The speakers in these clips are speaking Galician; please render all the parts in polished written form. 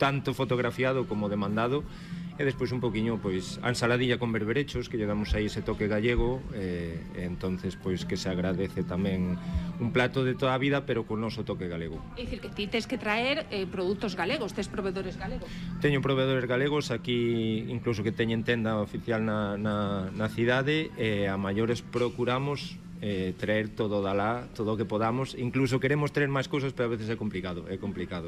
tanto fotografiado como demandado. E despois un poquinho, pois, a ensaladilla con berberechos, que lle damos aí ese toque gallego, e entonces, pois, que se agradece tamén un plato de toda a vida, pero con noso toque galego. É dicir, que ti tes que traer produtos galegos, tes proveedores galegos. Teño proveedores galegos aquí, incluso que teñen tenda oficial na cidade, e a maiores procuramos traer todo da lá, todo o que podamos. Incluso queremos traer máis cousas, pero a veces é complicado,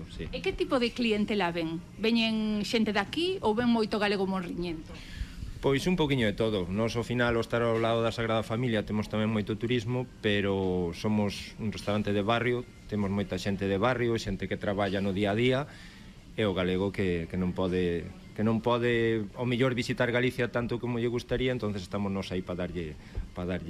sí. E que tipo de clientela ven? Veñen xente daqui ou ven moito galego morriñento? Pois un poquinho de todo. Nos, ao final, ao estar ao lado da Sagrada Familia, temos tamén moito turismo, pero somos un restaurante de barrio, temos moita xente de barrio, xente que traballa no día a día, e o galego que non pode ao mellor visitar Galicia tanto como lle gustaría, entonces estamos nos aí para darlle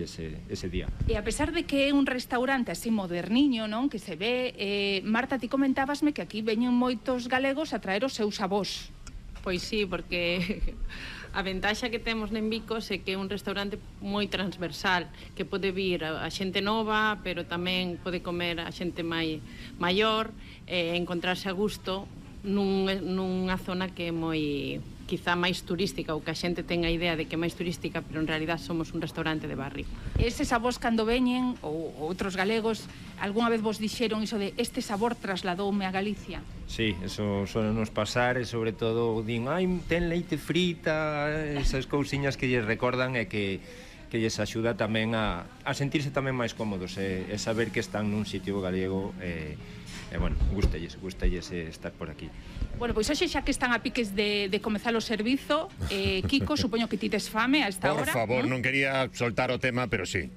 ese día. E a pesar de que é un restaurante así moderniño, non, que se ve, Marta, ti comentábasme que aquí veñen moitos galegos a traer os seus avós. Pois sí, porque a ventaxa que temos en Vicos é que é un restaurante moi transversal, que pode vir a xente nova, pero tamén pode comer a xente maior, encontrarse a gusto nunha zona que é moi, quizá máis turística, ou que a xente ten a idea de que é máis turística, pero en realidad somos un restaurante de barrio. Eses avós cando veñen, ou outros galegos, algunha vez vos dixeron iso de este sabor trasladoume a Galicia? Sí, eso suele nos pasar, e sobre todo din, ten leite frita, esas cousiñas que lles recordan e que lles axuda tamén a sentirse tamén máis cómodos e saber que están nun sitio galego. Bueno, gústelles estar por aquí. Bueno, pois hoxe xa que están a piques de comezar o servizo, Kiko, supoño que ti tes fame a esta hora. Por favor, non quería soltar o tema, pero sí.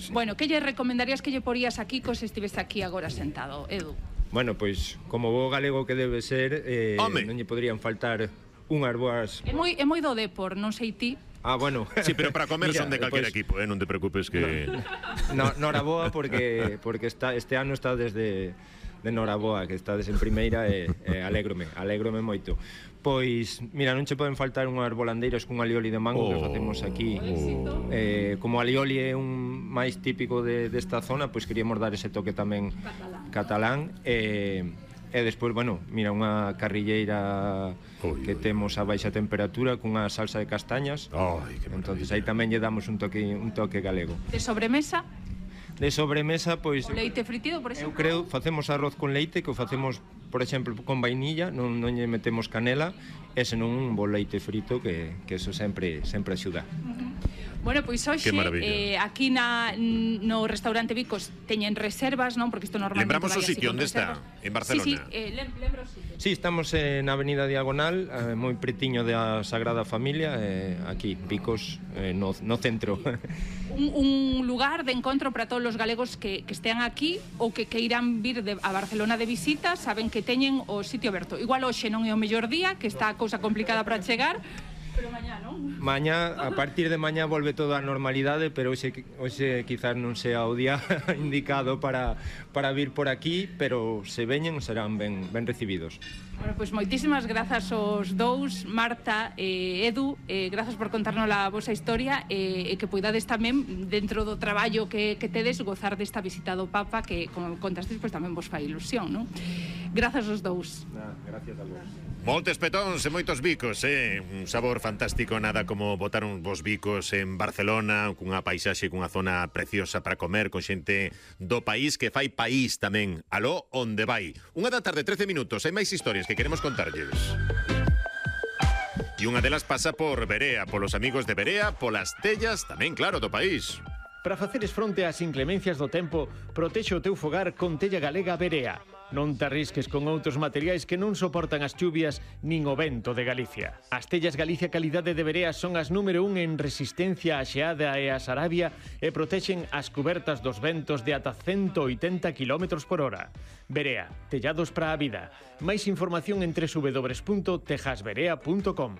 Bueno, que lle recomendarías que lle porías a Kiko se estivese aquí agora sentado, Edu? Bueno, pois, como bo galego que debe ser, non lle poderían faltar unhas boas... É moi do Depor, non sei ti. Bueno. Sí, pero para comer son de calquera equipo, non te preocupes que... Noraboa, porque este ano está desde Noraboa, que estades en primeira, e alégrome moito. Pois, mira, non che poden faltar unhas volandeiras cun alioli de mango que facemos aquí. Como alioli é un máis típico desta zona, pois queríamos dar ese toque tamén catalán. E despois, bueno, mira, unha carrilleira que temos a baixa temperatura cunha salsa de castañas. Entonces aí tamén lle damos un toque galego. De sobremesa? De sobremesa, pois... O leite fritido, por exemplo? Eu creo, facemos arroz con leite, que o facemos, por exemplo, con vainilla, non lle metemos canela, e senón un bo leite frito, que eso sempre axuda. Bueno, pois hoxe aquí no restaurante Vicos teñen reservas, non? Porque isto normalmente lembramos o sitio onde está, en Barcelona. Sí, lembro o sitio. Sí, estamos na Avenida Diagonal, moi pretiño da Sagrada Familia, aquí, Vicos, no centro. Un lugar de encontro para todos os galegos que estean aquí ou que queiran vir a Barcelona de visita, saben que teñen o sitio aberto. Igual hoxe non é o mellor día, que está a cousa complicada para chegar, pero mañá, non? Mañá, a partir de mañá volve toda a normalidade, pero hoxe quizás non sea o día indicado para vir por aquí, pero se veñen serán ben recibidos. Bueno, pois moitísimas grazas aos dous, Marta e Edu, grazas por contarnos a vosa historia e que poidades tamén, dentro do traballo que tedes, gozar desta visita do Papa, que, como contastes, pois tamén vos fai ilusión, non? Grazas aos dous. Gracias a vos. Moltes petóns e moitos bicos, un sabor fantástico, nada como botar uns bons bicos en Barcelona, cunha paisaxe, cunha zona preciosa para comer, con xente do país que fai país tamén. Aló, onde vai? 1:13 minutos, hai máis historias que queremos contarlles. E unha delas pasa por Berea, polos amigos de Berea, polas tellas, tamén claro, do país. Para faceres fronte ás inclemencias do tempo, protexe o teu fogar con tella galega Berea. Non te arrisques con outros materiais que non soportan as chuvias nin o vento de Galicia. As tellas Galicia Calidade de Berea son as número 1 en resistencia á xeada e á sarabia e protexen as cubertas dos ventos de ata 180 km por hora. Berea, tellados para a vida. Máis información en www.tejasberea.com.